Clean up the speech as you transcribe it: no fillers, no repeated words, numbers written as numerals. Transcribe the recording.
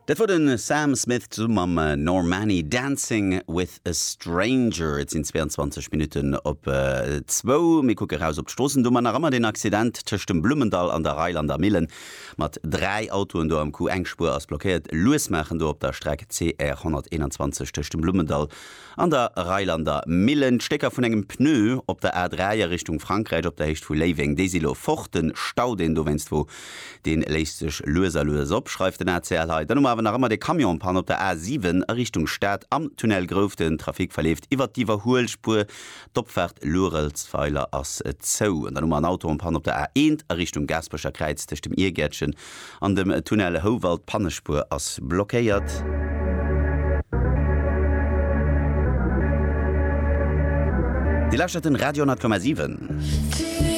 Dat wor den Sam Smith zesumme mam Normani, Dancing with a Stranger. Et sinn 22 Minutten op zwou. Mir kucke raus op d'Stroossen. Do hu mer nach ëmmer deen Accident tëscht dem Blummendall an der Reilander Millen mat 3 Autoen do am Coup. Eng Spuer ass blockéiert. Lues maachen do op der Streck CR 121 tëscht dem Blummendall An der Reilander Millen, d'Stécker vun engem Pneu op der A3 a Richtung Frankräich op der Héicht vu Léiweng, déi si lo fort. Den Stau, deen dowéinst wor, dee léist sech lues a lues op, schreift den ACL hei. Dann hu mer awer nach ëmmer de Camion en panne op der A7 a Richtung Stad am Tunnel Grouf. Den Trafic verleeft iwwert d'Iwwerhuelspuer. D'Opfaart Luerelsweiler ass zou. An dann hu mer en Auto en panne op der A1 a Richtung Gaasperecher Kräiz tëscht dem Iergäertchen An dem Tunnel Houwald, d'Pannespuer ass blockéiert. Dir lauschtert den Radio 10,7.